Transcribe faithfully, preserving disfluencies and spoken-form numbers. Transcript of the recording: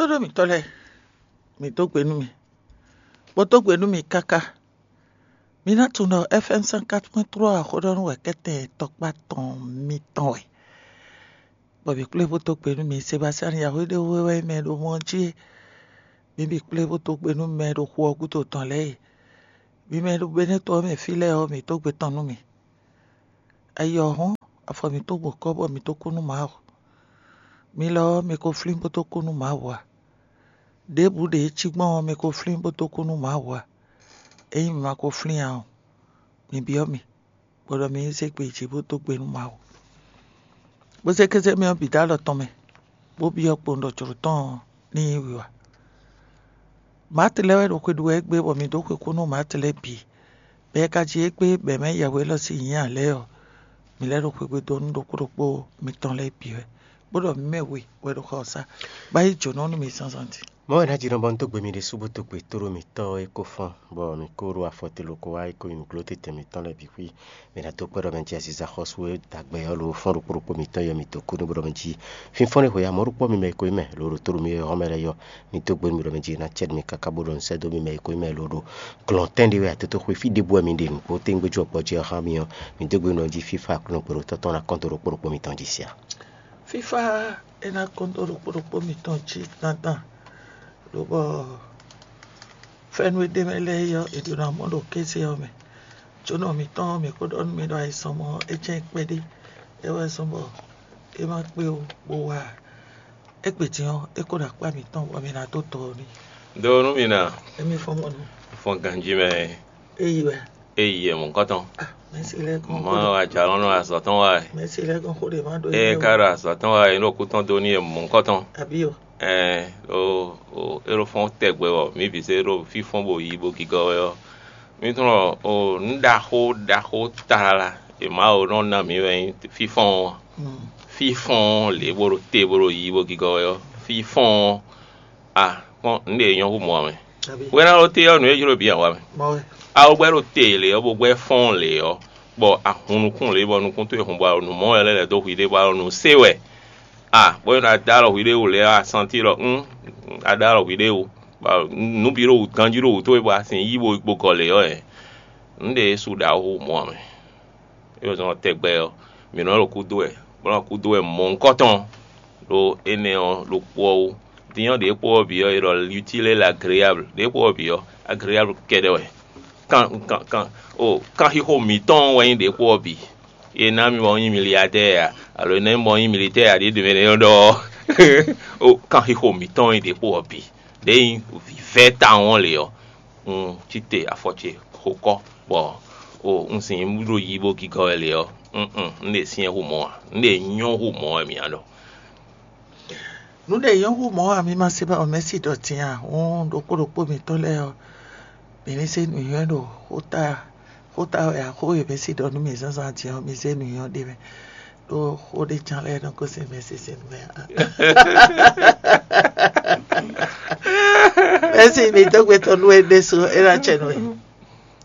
Tóɖó mǐtɔn lɛ́ɛ, mǐ dó gbe nú mi, bó dó gbe nú mi káká. Mi ná tunwun ɖɔ F M cent quatre point trois xó ɖɔ nú wɛ kɛ́tɛn tɔkpá tɔn mitɔn wɛ. Bɔ mǐ kplé bó dó gbe nú mi. Sebastian Yahweh ɖé wú wɛ mɛ ɖo mɔ jí e. Mi bǐ kplé bó dó gbe nú mɛ ɖo xu ɔ́ gúdo tɔn lɛ́ɛ e. Mi mɛ ɖo Benɛ́to ɔ́ mɛ fí lɛ́ɛ ɔ́, mǐ dó gbe tɔn nú mi. Ayi ɔ́ hɔn, afɔ mǐtɔn gbo kɔ́ bɔ mǐ dó kú nú Mawu. Mi lɔ ɔ́, mi ko flín bó dó kú nú Mawu ǎ. Ɖěbǔ ɖě cí gbɔn ɔ́, mi ko flín bó dó kú nú Mawu ǎ. Ényí mi ma ko flín ǎ ɔ́, mi byɔ́ mì, bɔ ɖɔ mi ní zé gbe jí bó dó gbe nú Mawu. Bó zé kéze mɛ ɔ́ bǐ dó alɔ tɔn mɛ, bó byɔ́ kpowun ɖɔ jlǒ tɔn ɔ́ ní nyí wiwa. Maati lɛ́ɛ wɛ ɖo xwe ɖu wɛ égbé, bɔ mǐ dó xwe kú nú Maati lɛ́ɛ bǐ. Bɔ é ka jí égbé bɔ è mɛ Yɛhwe élɔ́ sín nyǐ ǎ lɛ́ɛ ɔ́, mǐ lɛ́ ɖo xwegbe dó nú ɖokpó ɖokpó mitɔn lɛ́ɛ bǐ wɛ, bó ɖɔ mǐ mɛ we wɛ ɖo xɔ ɔ́ sá, bó yi jǒnɔ nú mi zǎnzǎn din. Mɔ̌ wɛ ná jínɔ bɔ un dó gbe mi ɖésú bó dó gbe tóɖó mǐtɔn e ko fɔ́n, bɔ mǐ ko ɖo afɔtelo ko wá e ko nyi nǔgló tɛnmɛ mǐtɔn lɛ́ɛ bǐ xwí. Mi ná dó kpɛ́ ɖɔ mɛ jí aziza xɔ́sú e dagbe ɔ́ ló fɔ́n ɖokpó ɖokpó mǐtɔn yɔ mǐ dó kú nú bó ɖɔ mɛ jí fínfɔ́n e xwe ya mɔ̌ ɖokpó mi mɛ e ko nyí mɛ lǒ ɖo tóɖo mi e hɔn mɛ lɛ́ɛ yɔ. Mi dó gbe nú mi ɖɔ mɛ jí ná cɛ́ nú mi káká bó ɖo nǔ sɛ́ dó mi mɛ e ko nyí mɛ lǒ ɖo glɔ̌ntɛn ɖé wɛ atótó xwe fí ɖěbǔ wɛ mi ɖe nǔgbó téngbéjú ɔ́ gbɔjɛ́ ɔ́ xá mi ɔ́, mi dó gbe nú ɔ́ jí fífá Aklúnɔ kpɛɖotɔ́ tɔn ná kɔn dó ɖokpó ɖokpó mitɔn jí sia. Fífá é ná kɔn dó ɖokpó ɖokpó mitɔn jí dandan, lobɔ fɛ́nú e ɖ'é mɛ lɛ́ɛ é ɔ́, è ɖǒ ná mɔ ɖo kéze ɔ́ mɛ. Jǒnɔ mǐtɔn ɔ́, mǐ ko ɖɔ nú mi ɖɔ ayizɔ́n mɔ ɔ́, é jɛ́n kpɛɖé, é wɛ zɔ́n bɔ é ma kpé ó, bó wá ǎ. Égbé din ɔ́, é ko ɖo akpá mǐtɔn bɔ mi ná dó dɔ ɔ́ n'i. Ɖó nú mi ná, émí fɔ́n mɔ nú fɔn ganjí mɛ. Éyi wɛ. Éyi e mɔ̌kɔtɔn. Mɛ̌si lɛ́ɛ gbɔn mɔ xó ɖe. Ajalɔ́nɔ azɔ̌ tɔn wá e. Mɛ̌si lɛ́ɛ gbɔn xó ɖe má ɖó. Ée é ká ɖo azɔ̌ tɔn wá e, é ɖo kú tɔn dó n'i e mɔ̌kɔtɔn. Àbí o. Ɛɛ o o é ɖo fɔ́n tɛgbɛ bɔ mǐ bǐ se ɖo fífɔ́n bó yí bó gigɔ wɛ ɔ́. Mǐ tunɔ o nǔ ɖaxó ɖaxó tlala e Mawu nɔ ná mǐ wɛ nyí fífɔ́n ɔ́. Fífɔ́n lě bó ɖo te bó ɖo yí bó gigɔ wɛ ɔ́, fífɔ́n ɔ́, a kpɔ́n nǔ ɖě e nyɔ́ hú mɔ ǎ mɛ. Wɛ́ná ɖó te ɔ́, nǔ e jló bǐ ǎ wá mɛ. A wú gbɛ́ ɖo te lě ɔ́, bó gbɛ́ fɔ́n lě ɔ́, bɔ a hun nukún lě bɔ nukún towe hun bɔ nǔ mɔ wɛ lɛ́ lɛ̌ dó hwi ɖé bɔ a ɖo nǔ se wɛ. A bó nɔ da alɔ hwi ɖé wú lě ɔ́, a santi ɖɔ un a da alɔ hwi ɖé wú, bɔ nǔ bǐ ɖo wǔ ganjí ɖo wǔ towe bɔ a sin yí bo gɔ lě ɔ́, nǔ ɖě e su ɖa wú mɔ ǎ mɛ. É wɛ zɔn tɛgbɛ ɔ́, mǐ nɔ ɖo kúdó wɛ, bó nɔ kúdó wɛ mɔ̌hunkɔtɔn ɖo énɛ́ ɔ́ ɖokpó ɔ́ wú. Din ɔ́, ɖě kpó ɔ́ bǐ ɔ́, è ɖɔ l'utile et l'agréable. Ɖě kpó ɔ́ bǐ ɔ́, agréable kɛ́ɖɛ́ wɛ. Kan kan kan o kanxixo mǐtɔn wɛ nyí ɖě kpó ɔ́ bǐ. È ná mi bɔ nyí miliadɛ́ɛ a, alo è ná mi bɔ nyí militɛ́ɛ a, ɖě ɖě mɛ nɔ ɖɔ ɔ́, o kanxixo mǐtɔn nyí ɖě kpó ɔ́ bǐ. Ɖě nyí vǐvɛ́ tawun ɔ́ lě ɔ́, un cí te afɔ ce xo kɔ́, bɔ o un sin ɖo yí bó gigɔ wɛ lě ɔ́, un un un ɖe syɛ́n hu mɔ̌ ǎ, un ɖe nyɔ́ hu mɔ̌ wɛ mǐ ná ɖɔ. Nǔ ɖě nyɔ́ hu mɔ̌ ǎ, mi ma se ba ɔ́ mɛ̌si ɖɔ din a? Hǔn ɖokpó ɖokpó mǐtɔn lɛ́ɛ ɔ́, mǐ ní se nǔnywɛ́ ɖo xóta xóta wɛ ǎ. Xó e mǐ si ɖɔ nú mǐ zǎnzǎn din ɔ́, mi zé nǔnywɛ́ ɖ'é mɛ, ɖó xó ɖé ján lɛ́ɛ nɔ gosín mɛ sín sin mɛ ǎ. Mɛ̌si, mǐ dó gbe tɔn nú we ɖésú, é ná cɛ nú we.